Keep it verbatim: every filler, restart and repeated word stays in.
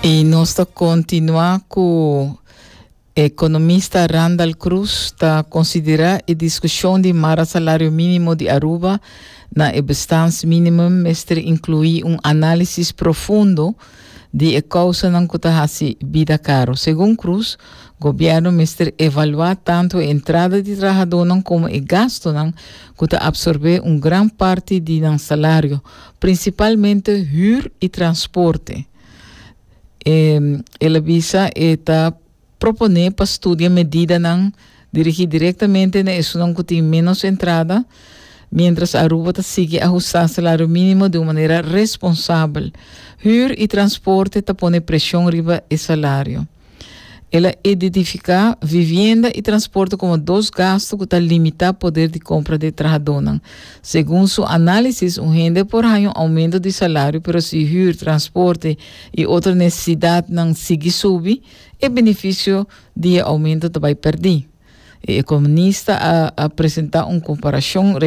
I nos ta kontinuá ku ekonomista Randall Cruz ta konsiderá e diskushon di mara salario mínimo di Aruba na e bestaansminimum mester inkluí un análisis profundo di e kousanan ku ta hasi bida karo. Segun Cruz, gobièrnu mester evaluá tantu e entrada di trahadónan komo e gastonan ku ta apsorbé un gran parti di nan salario, prinsipalmente huur i transporte. Eh, el a bisa e ta proponé pa studia medidanan dirigí direktamente na esunnan ku tin menos entrada, mientras Aruba ta sigui ahustá salario mínimo di un manera responsabel. Huur i transporte ta pone preshon riba e salario. El a identifiká vivienda i transporte komo dos gastu ku ta limitá poder di kompra di trahadónan. Segun su análisis, un hende por haña un oumento di salario, pero si huur, transporte i otro nesesidatnan sigui subi, e benefisio di oumento ta bai pèrdí. E ekonomista a, a presentá un komparashon.